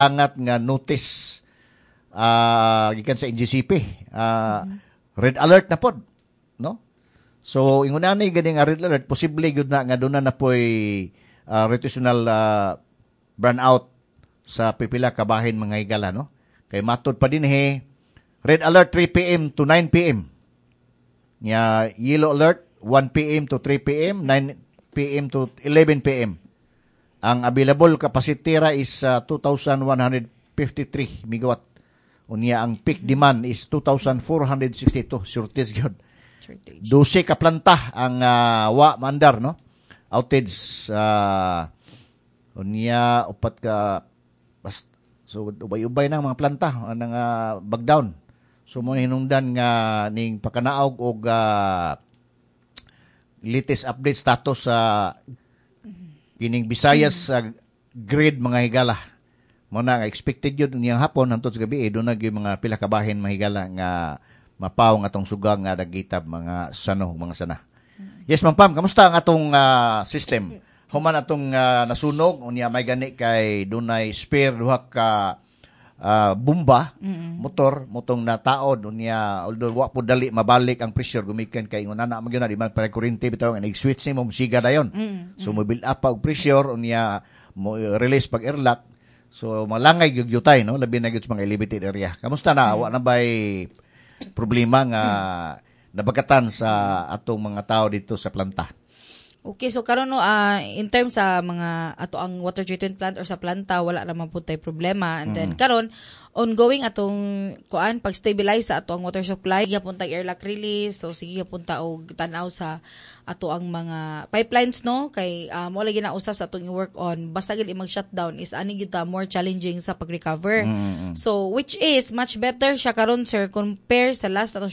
Angat nga notice gikan sa NGCP. Red alert na pod, no? So ingon ani gani nga red alert, posible gyud na nga duna na poy rotational brownout sa pipila ka bahin, mga higala, no? Kay matod pa dinhi, red alert 3 PM to 9 PM. Nya yellow alert 1 PM to 3 PM, 9 PM to 11 PM. Ang available capacity ra is 2,153 megawatt. Unya ang peak demand is 2,462. Shortage gyud. Shortage. 12 ka planta ang wa maandar, no? Outage, unya upat ka bas, so ubay-ubay na ang mga planta ang bagdown. So mo hinungdan nga ning pakanaog og latest update status sa kining Visayas sa grid, mga higala. Mo na nga expected yun niyang hapon hantod sa gabi eh, doon na gyud mga pila ka bahin, mga higala, nga mapaw nga atong sugang nga dagitab, mga sano, mga sana. Yes, Ma'am Pam, kamusta ang atong system? Human atong nasunog, unya may gani kay dunay spare duha ka bomba motor motong nataod unya, although wa po dali mabalik ang pressure gumikan kay ingon ana man gyud na di man pare kuryente bitaw nga nag-switch nimo, musiga dayon. So mo build up pa og pressure, unya mo release pag airlock, so malangay gyud yutay, no, labi na gyud sa mga elevated area. Kamusta na? Wa na bay problema nga nabagatan sa atong mga tao dito sa planta? Okay, so karon, no, in terms sa mga ato ang water treatment plant or sa planta, wala naman pud tay problema. And then karon ongoing atong kuan, pag-stabilize sa ato ang water supply, gyapon tag airlock release. So sige gyapon ta og tan-aw sa ato ang mga pipelines, no, kay mo lagi na usa sa atong i-work on. Basta gid mag-shutdown is ani gyud ta more challenging sa pag-recover. So which is much better siya karon, sir, compare sa last atong